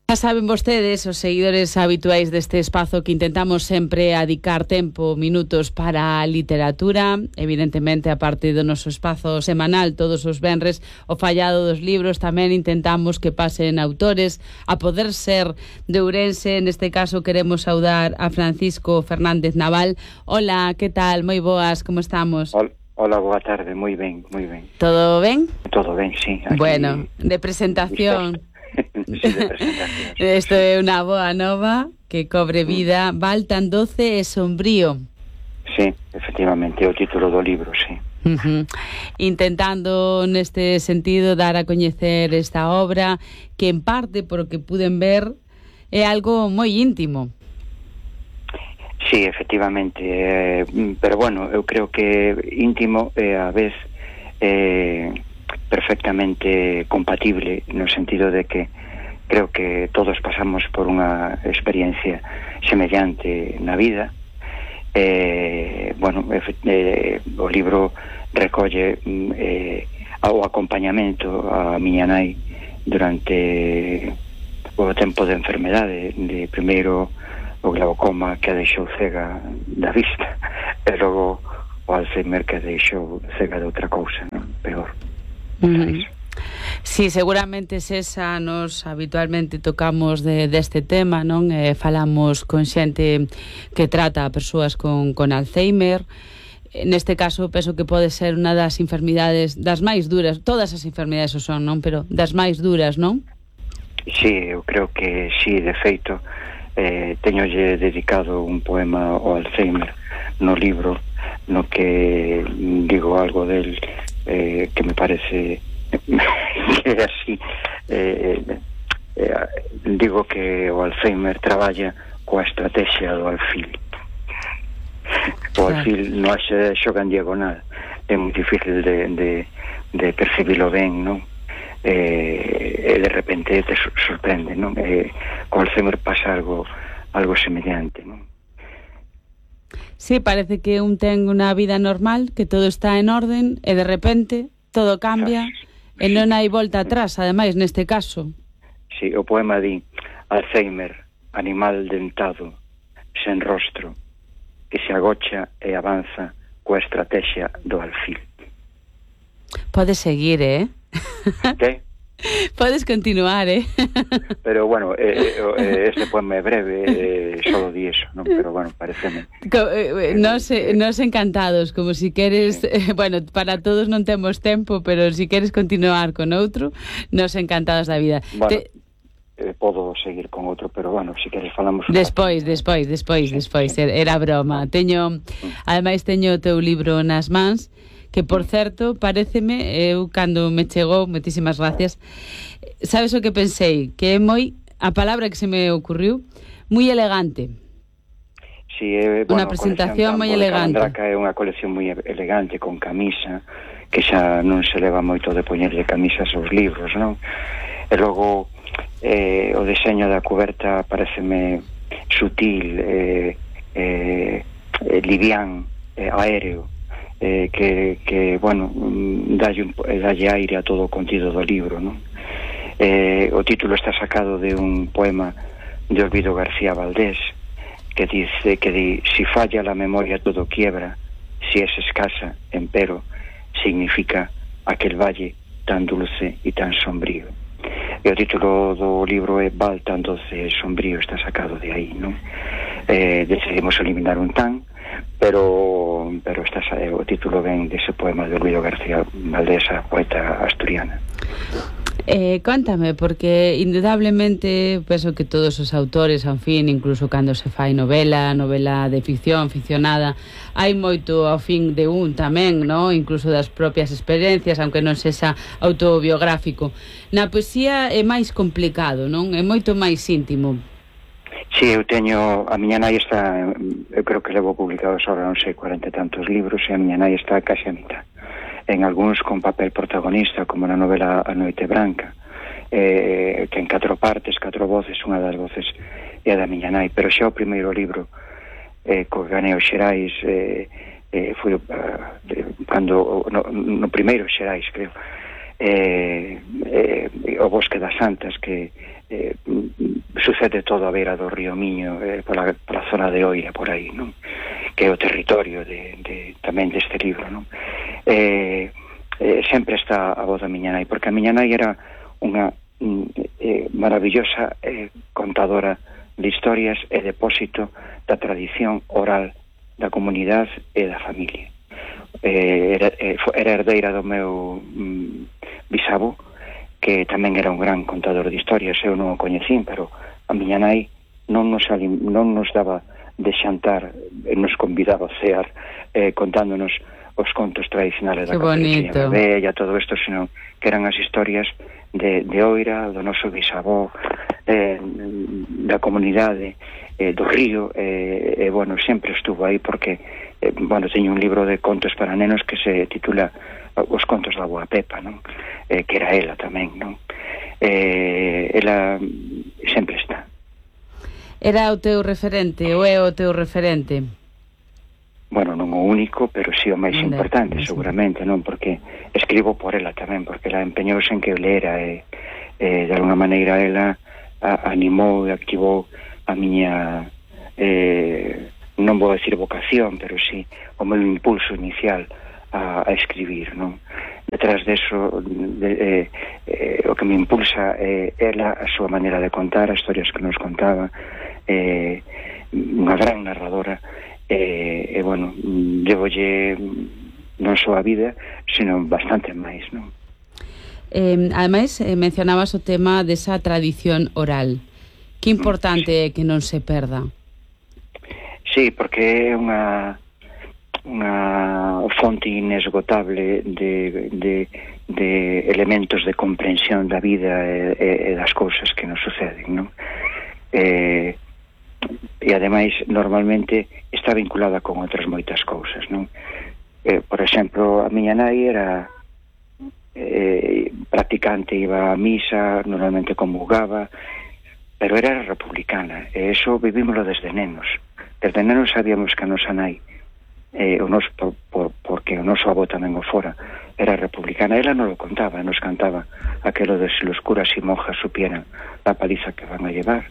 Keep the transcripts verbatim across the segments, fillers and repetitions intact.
Ya saben vostedes, os seguidores habituais deste espazo, que intentamos sempre adicar tempo, minutos para a literatura. Evidentemente, a parte do noso espazo semanal todos os venres, o fallado dos libros, tamén intentamos que pasen autores, a poder ser de Ourense. Neste caso queremos saudar a Francisco Fernández Naval. Hola, que tal? Moi boas, como estamos? Hola. Hola, boa tarde, moi ben, moi ben. Todo ben? Todo ben, sí. Aquí... Bueno, de presentación. Sí, de presentación. Sí. Isto é unha boa nova que cobre vida. Mm. Val tan doce e sombrío. Sí, efectivamente, é o título do libro, sí. Uh-huh. Intentando neste sentido dar a coñecer esta obra, que en parte, por o que puden ver, é algo moi íntimo. Sí, efectivamente, eh, pero bueno, eu creo que íntimo é a vez eh, perfectamente compatible, no sentido de que creo que todos pasamos por unha experiencia semellante na vida. Eh, bueno, eh, o libro recolle eh, o acompañamento a miña nai durante o tempo de enfermedade, de primeiro o glaucoma que a deixou cega da vista, e logo o Alzheimer que a deixou cega de outra cousa, non? Peor. Uh-huh. Sí, seguramente esa nos habitualmente tocamos de, deste tema, non? Eh, falamos con xente que trata a persoas con, con Alzheimer. Neste caso, penso que pode ser unha das enfermidades das máis duras. Todas as enfermidades o son, non? Pero das máis duras, non? Sí, eu creo que sí, de feito eh, teñolle dedicado un poema ao Alzheimer no libro, no que digo algo del eh, que me parece que é así, eh, eh, digo que o Alzheimer traballa coa estrategia do alfil. O alfil non se xoga en diagonal, é moi difícil de, de, de percibilo ben, non? Eh, e de repente te sorprende, non? Eh, co Alzheimer pasa algo algo semellante, non? Sí, parece que un ten unha vida normal, que todo está en orden, e de repente todo cambia, sí, e non hai volta atrás, ademais, neste caso. Sí, o poema di: Alzheimer, animal dentado, sen rostro, que se agocha e avanza coa estrategia do alfil. Podes seguir, eh? Que? Podes continuar, eh? Pero bueno, eh, eh, este poema é breve, eh, solo di eso, non? Pero bueno, pareceme. Co, eh, nos, eh, nos encantados, como si queres, sí. eh, bueno, para todos non temos tempo, pero si queres continuar con outro, nos encantados da vida. Bueno, Te... eh, podo seguir con outro, pero bueno, si queres falamos... Despois, despois, despois, sí, despois, sí. Era broma. Teño, ademais teño o teu libro nas mans, que, por certo, paréceme, eu, cando me chegou, moitísimas gracias, sabes o que pensei? Que é moi, a palabra que se me ocurriu, moi elegante. Sí, é, unha bueno, presentación moi elegante. Calandraca é unha colección moi elegante, con camisa, que xa non se leva moito de poñerlle camisas aos libros, non? E logo, eh, o deseño da cuberta pareceme sutil, eh, eh, eh, livián, eh, aéreo, Eh, que, que, bueno, dalle, un, dalle aire a todo o contido do libro, non? Eh, o título está sacado de un poema de Olvido García Valdés, que dice que di: si falla la memoria todo quiebra, si es escasa, empero, significa aquel valle tan dulce y tan sombrío. E o título do libro é Val tan doce e sombrío, está sacado de aí, non? Eh, decidimos eliminar un tan, pero pero está o título ven dese poema de Olvido García Valdés, a poeta asturiana. Eh, cántame, porque indudablemente penso que todos os autores, en fin, incluso cando se fai novela, novela de ficción, ficcionada, hai moito ao fin de un tamén, no? Incluso das propias experiencias, aunque non sexa autobiográfico. Na poesía é máis complicado, non? É moito máis íntimo. Sí, eu teño, a miña nai está, eu creo que levo publicados ahora non sei, cuarenta e tantos libros, e a miña nai está casi a mitad, en algúns con papel protagonista, como na novela A Noite Branca, eh, que en catro partes, catro voces, unha das voces é a da miña nai, pero xa o primeiro libro, eh, co ganei os Xerais, eh, eh, foi uh, cando, no, no primeiro Xerais, creo, eh, eh, o Bosque das Santas, que eh, sucede todo a beira do río Miño, eh, pola, pola zona de Oira, por aí, non? Que é o territorio de, de, tamén deste libro, non? Eh, eh, sempre está a voz da miña nai, porque a miña nai era unha eh, maravillosa eh, contadora de historias e depósito da tradición oral da comunidade e da familia. Eh, era, eh, era herdeira do meu mm, bisabo, que tamén era un gran contador de historias. Eu non o coñecín, pero a miña nai non nos, alim, non nos daba de xantar, nos convidaba a cear eh, contándonos os contos tradicionales da Caperucita Bella, todo isto, senón que eran as historias de, de Oira, do noso bisavó, eh, da comunidade, eh, do río, e eh, eh, bueno, sempre estuvo aí porque eh, bueno, teño un libro de contos para nenos que se titula Os contos da Boa Pepa, non? Eh, que era ela tamén, non? Eh, ela sempre está. Era o teu referente, ou é o teu referente? Bueno, non o único, pero si sí o máis importante, seguramente, non? Porque escribo por ela tamén, porque ela empeñouse en que eu lera e, e de alguna maneira ela a, animou e activou a miña eh, non vou decir vocación, pero si sí, o meu impulso inicial a, a escribir, non? Detrás deso de, eh, eh, o que me impulsa é eh, ela, a súa maneira de contar, as historias que nos contaba, eh, unha gran narradora, e, eh, bueno, levolle non só a vida, sino bastante máis, non? Eh, ademais, eh, mencionabas o tema desa tradición oral. Que importante é que non se perda. Sí, porque é unha unha fonte inesgotable de, de, de elementos de comprensión da vida e, e das cousas que nos suceden, non? Eh, e ademais normalmente está vinculada con outras moitas cousas, non? Eh, por exemplo, a miña nai era eh, practicante, iba a misa, normalmente comulgaba, pero era republicana, e eso vivímoslo desde nenos. Desde nenos sabíamos que a nosa nai, eh, o nos, por, por, porque o noso avó tamén o fora, era republicana. Ela non lo contaba, nos cantaba aquelo de si los curas y monjas supieran la paliza que van a llevar,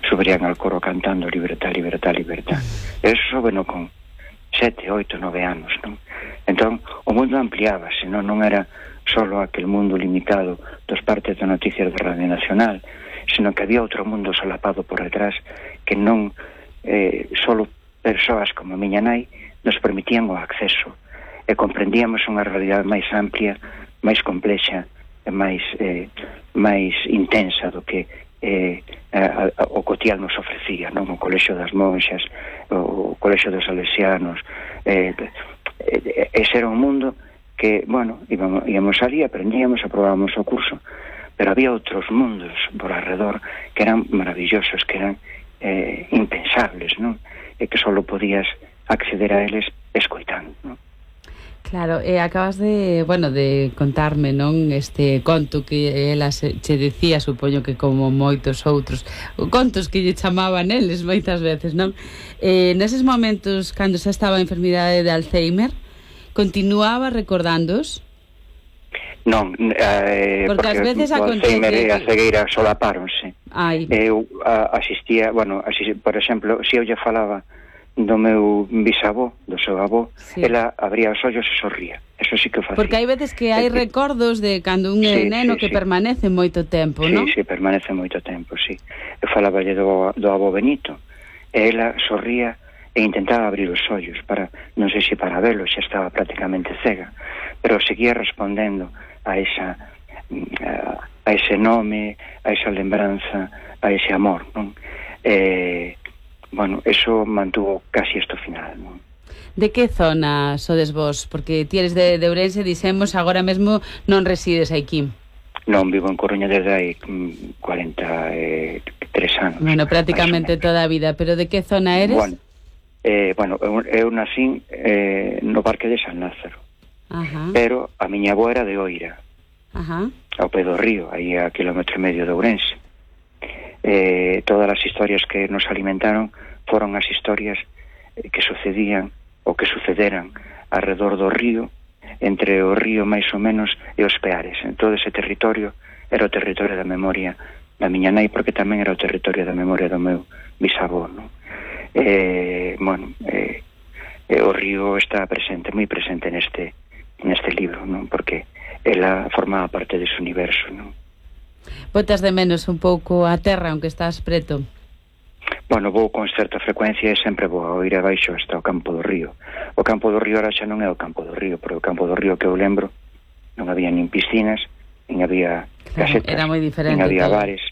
subirían al coro cantando libertad, libertad, libertad. Eso bueno con sete, oito, nove anos, non? Entón, o mundo ampliábase, non, non era solo aquel mundo limitado dos partes de noticias de Radio Nacional, sino que había outro mundo solapado por detrás que non eh, solo persoas como a miña nai nos permitían o acceso e comprendíamos unha realidade máis amplia, máis complexa e máis eh, máis intensa do que eh, a, a, o cotial nos ofrecía, non? O colexio das monxas, o, o colexio dos salesianos, eh, eh, ese era un mundo que, bueno, íbamos, íbamos ali, aprendíamos, aprobábamos o curso, pero había outros mundos por alrededor que eran maravillosos, que eran eh, impensables, non? E que só podías acceder a eles escoitando, non? Claro, e acabas de, bueno, de contarme, non, este conto que ela se, che decía, supoño que como moitos outros, contos que lle chamaban eles moitas veces, non? Eh, neses momentos, cando xa estaba a enfermidade de Alzheimer, continuaba recordándoos? Non, eh, porque, porque ás veces o Alzheimer e a cegueira solapáronse. Ai. Eu a, asistía, bueno, asist, por exemplo, se eu lle falaba do meu bisavó, do seu avó, sí, ela abría os ollos e sorría. Eso sí que o facía. Porque hai veces que hai recordos de cando un sí, neno sí, que sí. permanece moito tempo, sí, non? Sí, sí, permanece moito tempo, sí. Eu falaballe do, do avó Benito, e ela sorría e intentaba abrir os ollos para, non sei se para velo, xa estaba prácticamente cega, pero seguía respondendo a esa a, a ese nome, a esa lembranza, a ese amor, non? Eh, bueno, eso mantuvo casi esto final, non? De que zona sodes vos? Porque ti eres de, de Ourense, dixemos, agora mesmo non resides aquí. Non, vivo en Coruña desde hai cuarenta e tres anos. Bueno, prácticamente toda a vida, pero de que zona eres? Bueno, eh, bueno eu, eu nací eh, no Parque de San Lázaro. Ajá. Pero a miña avó era de Oira. Ajá. Ao pé do río, aí a kilómetro e medio de Ourense. Eh, todas as historias que nos alimentaron foron as historias que sucedían ou que sucederan alrededor do río entre o río máis ou menos e os Peares. En todo ese territorio era o territorio da memoria da miña nai, porque tamén era o territorio da memoria do meu bisavó, non? Eh, bueno, eh, eh, o río está presente, moi presente neste neste libro, non? Porque ela formaba parte dese universo, non? Botas de menos un pouco a terra, aunque estás preto? Bueno, vou con certa frecuencia e sempre vou a ir abaixo hasta o campo do río. O campo do río ahora xa non é o campo do río, pero o campo do río que eu lembro non había nin piscinas, nin había casetas, era moi diferente, nin había todo. bares,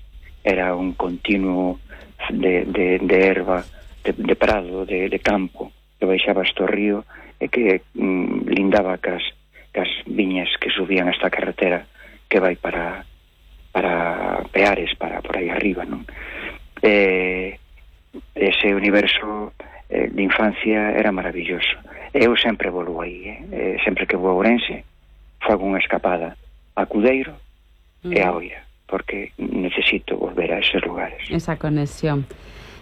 era un continuo de, de, de erva, de, de prado, de, de campo, que baixaba hasta o río e que mm, lindaba cas, cas viñas que subían hasta a carretera que vai para para Peares, para por aí arriba, non? Eh, ese universo eh, de infancia era maravilloso. Eu sempre volo aí, eh? sempre que vou a Ourense fago unha escapada a Cudeiro mm. e a Oira, porque necesito volver a esos lugares. Esa conexión.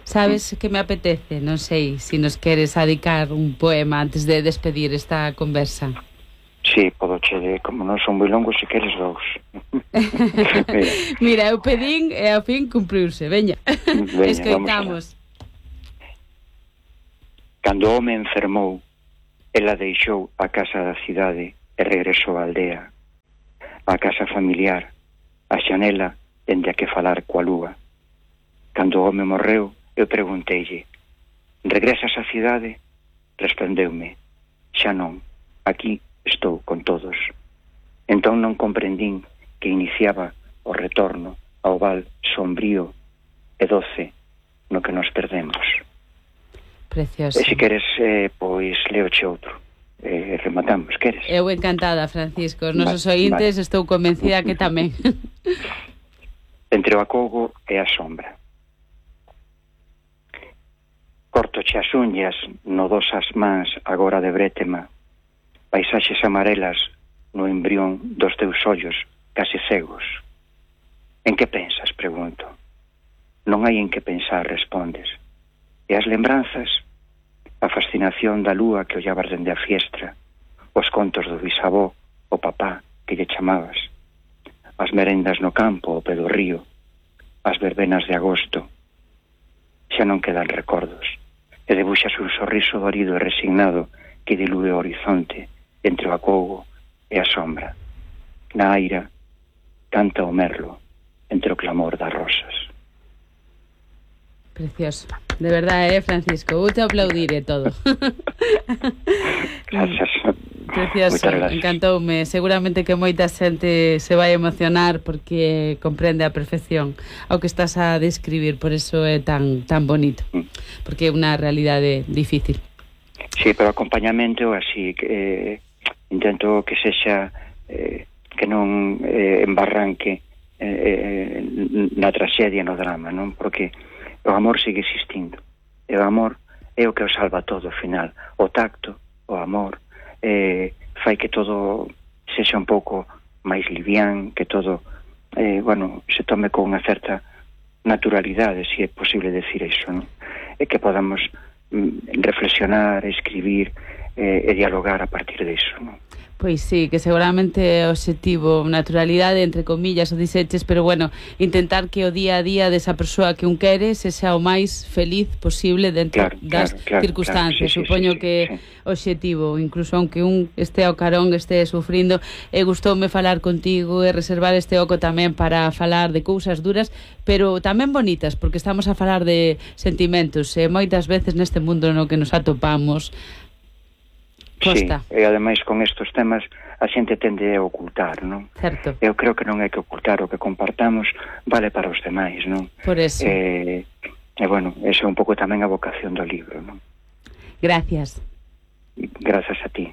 Sabes mm. que me apetece? Non sei se si nos queres adicar un poema antes de despedir esta conversa. Sí, podo che de, como non son moi longos, se queres dous. Mira. Mira, eu pedín e ao fin cumpriuse. Veña, Veña escoitamos. Cando o home enfermou, ela deixou a casa da cidade e regresou á aldea, a casa familiar, a xanela dende a que falar coa lúa. Cando o home morreu, eu pregunteille: regresas á cidade? Respondeume: xa non, aquí estou con todos. Entón non comprendín que iniciaba o retorno ao val sombrío e doce no que nos perdemos. Precioso. E se queres, eh, pois leoche outro. Eh, rematamos, queres? Eu encantada, Francisco. Os nosos ointes vale. Estou convencida que tamén. Entre o acogo e a sombra. Cortoche as uñas no dosas mans agora de brétema, paisaxes amarelas no embrión dos teus ollos case cegos. En que pensas? Pregunto. Non hai en que pensar, respondes. E as lembranzas? A fascinación da lúa que ollabas dende a fiestra, os contos do bisavó, o papá que lle chamabas, as merendas no campo ao pé do río, as verbenas de agosto. Xa non quedan recordos, e debuxas un sorriso dorido e resignado que dilúe o horizonte entre o acougo e a sombra. Na aira canta o merlo entre o clamor das rosas. Precioso. De verdade, eh, Francisco? Vou te aplaudir e todo. Gracias. Precioso, encantoume. Seguramente que moita xente se vai emocionar porque comprende a perfección ao que estás a describir, por eso é tan tan bonito, porque é unha realidade difícil. Sí, pero acompañamento así que eh, intento que sexa eh, que non eh, embarranque eh, eh, na traxedia, no drama, non? Porque o amor sigue existindo, e o amor é o que o salva todo ao final. O tacto, o amor eh, fai que todo sexa un pouco máis livián, que todo eh, bueno, se tome con unha certa naturalidade, se é posible decir iso, non? E que podamos mm, reflexionar, escribir eh, e dialogar a partir disso, non? Pois sí, que seguramente é o obxectivo, naturalidade, entre comillas, o diseches, pero bueno, intentar que o día a día desa persoa que un quere se xa o máis feliz posible dentro claro, das claro, claro, circunstancias. Claro, sí, Supoño sí, sí, que sí. o obxectivo, incluso aunque un este ao carón, este sufrindo, e gustoume falar contigo e reservar este oco tamén para falar de cousas duras, pero tamén bonitas, porque estamos a falar de sentimentos, e moitas veces neste mundo no que nos atopamos costa. Sí, e ademais con estes temas a xente tende a ocultar, non? Certo. Eu creo que non hai que ocultar, o que compartamos vale para os demais, non? Por eso. Eh, e bueno, esa é un pouco tamén a vocación do libro, non? Gracias. Gracias a ti.